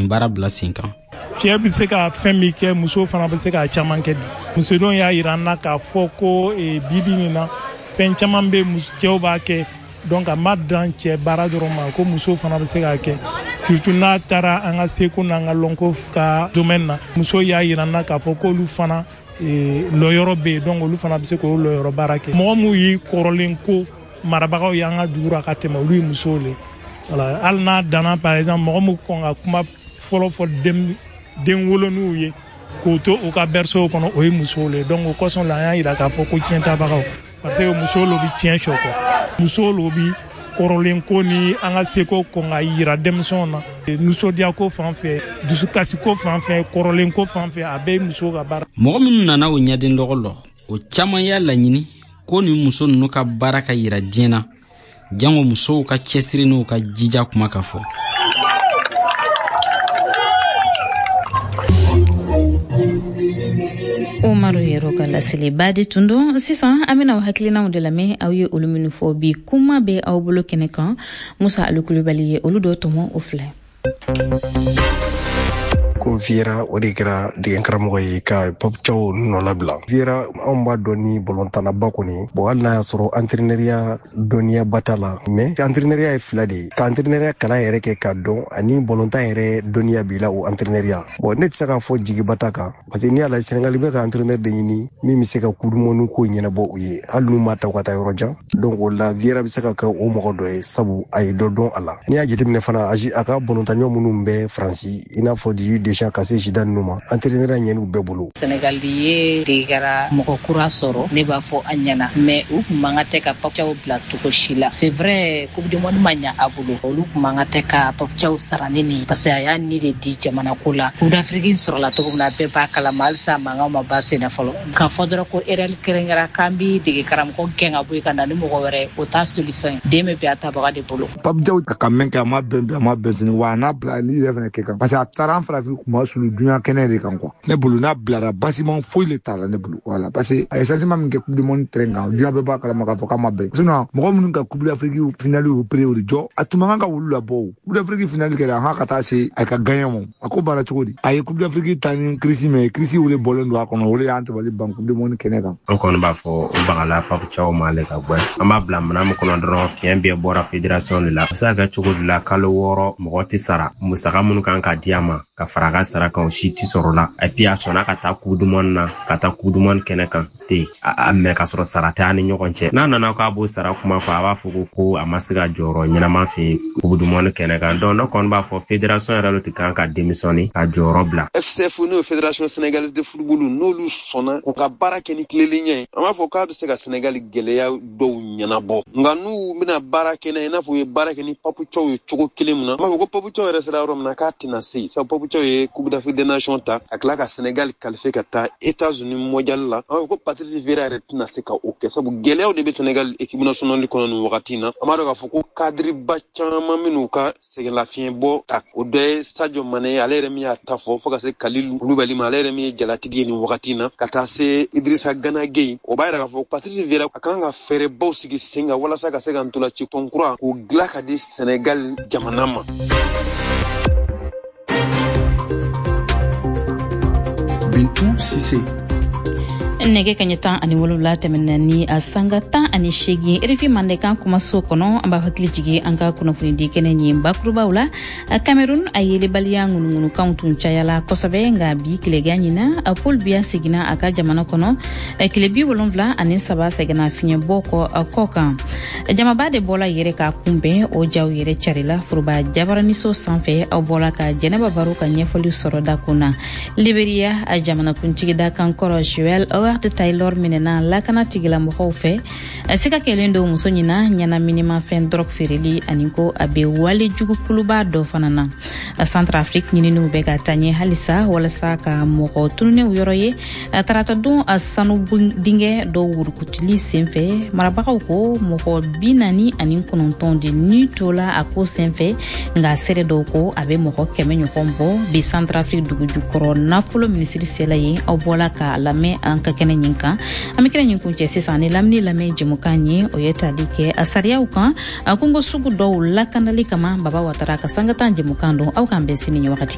nin baara bila sen kan. Cɛ bɛ se ka fɛn min kɛ, muso fana bɛ se k'a caman kɛ. Bi musodenw y'a yira an na k'a fɔ ko bi bi nin na, fɛn caman bɛ, cɛw b'a kɛ. Donc a ma dan cɛ baara dɔrɔn ma, ko muso fana bɛ se k'a kɛ, surtout n'a taara an ka seko n'an ka lɔnko ka domaine na. Muso y'a yira an na k'a fɔ k'olu fana lɔyɔrɔ bɛ yen, donc olu fana bɛ se k'o lɔyɔrɔ baara kɛ. Mɔgɔ minnu y'i kɔrɔlen ko marabagaw y'an ka dugu ra ka tɛmɛ, olu ye musow le. Voilà, hali n'a danna, par exemple, mɔgɔ min kɔn ka kuma fɔlɔ fɔ den wolonuw ye k'o to u ka berceau kɔnɔ, o ye musow le. Donc o kosɔn la, an y'a yira k'a fɔ ko tiɲɛtabagaw, parce que musow lo bi tiɲɛ sɔ kɔ, musow lo bi kɔrɔlen ko ni an ka seko kɔn ka yira denmisɛnw na. Nisɔndiya ko fan fɛ, dusukasi ko fan fɛ, kɔrɔlen ko fan fɛ, a bɛɛ ye musow ka baara. Mɔgɔ minnu nana o ɲɛden lɔgɔ lɔ, o caman y'a laɲini ko nin muso ninnu ka baara ka yira diɲɛ na, jango musow ka cɛsiri n'u ka jija kuma ka fɔ. Umaru Yɛrɛ ka laseliba de tun don. Sisan an bɛna aw hakilinaw de lamɛn, aw ye olu minnu fɔ bi kuma bɛ aw bolo kɛnɛ kan. Musa Alukulubali ye olu dɔ tɔmɔ, o filɛ. Ko Viera, o de kɛra degen karamɔgɔ ye ka Pape Thiaw nɔ labila. Viera, anw b'a dɔn ni bɔlɔntannaba kɔni. Bon, hali n'a y'a sɔrɔ entraîneuriya dɔnniyaba t'a la, mais entraîneuriya ye fila de ye: ka entraîneuriya kalan yɛrɛ kɛ k'a dɔn, ani bɔlɔntan yɛrɛ dɔnniya b'i la, o entraîneuriya. Bon, ne tɛ se k'a fɔ jigiba t'a kan, parce que n'i y'a lajɛ, Sénégal bɛ ka entraîneur de ɲini min bɛ se ka coupe du monde ko ɲɛnabɔ u ye, hali n'u m'a ta u ka taa yɔrɔ jan. Donc o la, Viera bɛ se ka kɛ o mɔgɔ dɔ ye, sabu a ye dɔ dɔn a la. N'i y'a jateminɛ fana, a ka bɔlɔntanɲɔ minnu bɛ Faransi, i n'a fɔ Didier Deschamps ka se Zidane ninnu ma, entraîneur ɲɛn'u bɛɛ bolo. Sénégal ye degekara mɔgɔ kura sɔrɔ, ne b'a fɔ a ɲɛna, mais u tun man ka tɛ ka Pape Thiaw bila cogo si la. C'est vrai, coupe du monde ma ɲa a bolo, olu tun man ka tɛ ka Pape Thiaw sara ni nin, parce que a y'a ni de di jamana ko la. Coupe d'Afrique sɔrɔla cogo min na, bɛɛ b'a kalama, halisa mankan ma ban sen na fɔlɔ. K'a fɔ dɔrɔn ko erreur kelen kɛra, k'an bi dege karamɔgɔ gɛn ka bɔ yen ka na ni mɔgɔ wɛrɛ, o t'a solution ye. Den bɛ bɛn a tabaga de bolo. Pape Thiaw a ka mɛn kɛ, a ma bɛn bi, a ma bɛn sini, wa a n'a bila ni yɛrɛ fɛnɛ kɛ kan, parce que a taara an farafin kuma sulu duɲa kɛnɛ de kan quoi. Ne bolo, n'a bilara, basiment foyi le t'a la ne bolo. Voilà, parce que a ye changement min kɛ coupe du monde terrain kan, duɲa bɛɛ b'a kalama k'a fɔ k'a ma bɛn. Sinon mɔgɔ minnu ka coupe d'Afrique finale repéré, o de jɔ a tun man kan ka wulu labɔ. O coupe d'Afrique finale kɛra, a ka taa se a ka gagner ma, a ko baara cogo di? A ye coupe d'Afrique ta ni crise, mais crise o de bɔlen don a kɔnɔ, o de y'an tabali ban coupe du monde kɛnɛ kan. An kɔni b'a fɔ o bagala Pape Thiaw ma ale ka gwɛ. An b'a bila minɛn min kɔnɔ dɔrɔn, fiɲɛ bɛɛ bɔra fédération de la. A bɛ se ka kɛ cogo di la, kalo 6 mɔgɔ tɛ sara, musaka minnu kan ka di a ma ka fara a ka sara kan, o si tɛ sɔrɔ la. Et puis a sɔnna ka taa coupe du monde na, ka taa coupe du monde kɛnɛ kan ten a mɛ ka sɔrɔ sara tɛ an ni ɲɔgɔn cɛ. N'a nana k'a b'o sara kuma fɔ, a b'a fɔ ko a ma se ka jɔyɔrɔ ɲɛnama fɛ coupe du monde kɛnɛ kan. Donc ne kɔni b'a fɔ fédération yɛrɛ de kan ka démissionner ka jɔyɔrɔ bila. FCF, n'o ye Fédération sénégalaise de football, n'olu sɔnna u ka baara kɛ ni tilelenya ye, an b'a fɔ k'a bɛ se ka Sénégal gɛlɛya dɔw ɲɛnabɔ. Nka n'u bɛna baara kɛ n'a ye, i n'a fɔ u ye baara kɛ ni Pape Thiaw ye cogo kelen min na, an b'a fɔ ko Pape Thiaw yɛrɛ sera yɔrɔ min na k'a tɛna se, sabu Pape Thiaw ye Coupe d'Afrique des Nations ta ka tila ka Sénégal qualifier ka taa États-Unis mondial la. An b'a fɔ ko Patrice Vieira yɛrɛ tɛna se ka o kɛ, sabu gɛlɛyaw de bɛ Sénégal équipe nationale kɔnɔ nin wagati in na. An b'a dɔn k'a fɔ ko cadre ba caman minnu ka sɛgɛnlafiɲɛbɔ ta, o dɔ ye Sadio Mané, ale yɛrɛ min y'a ta fɔ, fo ka se Kalilou Koulibaly ma, ale yɛrɛ min ye jalatigi ye nin wagati in na, ka taa se Idrissa Gana Gueye. O b'a yira k'a fɔ Patrice Vieira a kan ka fɛɛrɛbaw sigi sen kan walasa ka se ka ntolaci tɔn kura k'o dilan ka di Sénégal jamana ma. Bintu Sise. Nɛgɛ kaɲɛ 17 tɛmɛna ni a sanga 18, RFI Mandenkan kumaso kɔnɔ. An b'a hakili jigi an ka kunnafonidi kɛnɛ ɲin bakurubaw la. Cameroun, a yelebaliya ŋunuŋunukanw tun cayala kosɛbɛ, nka bi tilegan ɲina, Paul Biya seginna a ka jamana kɔnɔ tile 73 sɛgɛnna fiɲɛbɔ kɔ kan. Jamaba de bɔla yɛrɛ k'a kunbɛn, o jaw yɛrɛ carila foroba jabaraniso sanfɛ. Aw bɔla ka Jɛnɛba Baro ka ɲɛfɔli sɔrɔ dakun na. Liberia, a jamanakuntigi dakan kɔrɔ Joel Howard Taylor minɛna lakana tigilamɔgɔw fɛ. Siga kɛlen don muso ɲina ɲɛnaminimafɛn drogue feereli ani ko a bɛ wale jugu kuluba dɔ fana na. Centrafrique, ɲininiw bɛ ka taa ɲɛ halisa walasa ka mɔgɔ tununnenw yɔrɔ ye. Taratadon, sanu dingɛ dɔw wurukutuli senfɛ, marabagaw ko mɔgɔ 49 de ni tola a ko senfɛ, nka seere dɔw ko a bɛ mɔgɔ 100 ɲɔgɔn bɔ. Bi Centrafrique dugujukɔrɔ nafolo minisiri sela yen, aw bɔla k'a lamɛn an ka kɛnɛ ɲin kan. An bɛ kɛnɛ ɲin kuncɛ sisan ni lamini lamɛn jɛmukan ye, o ye tali kɛ a sariyaw kan a kungo sugu dɔw lakanali kama. Baba Watara ka sangatan jɛmukan don. Aw k'an bɛn sini ɲɛ wagati.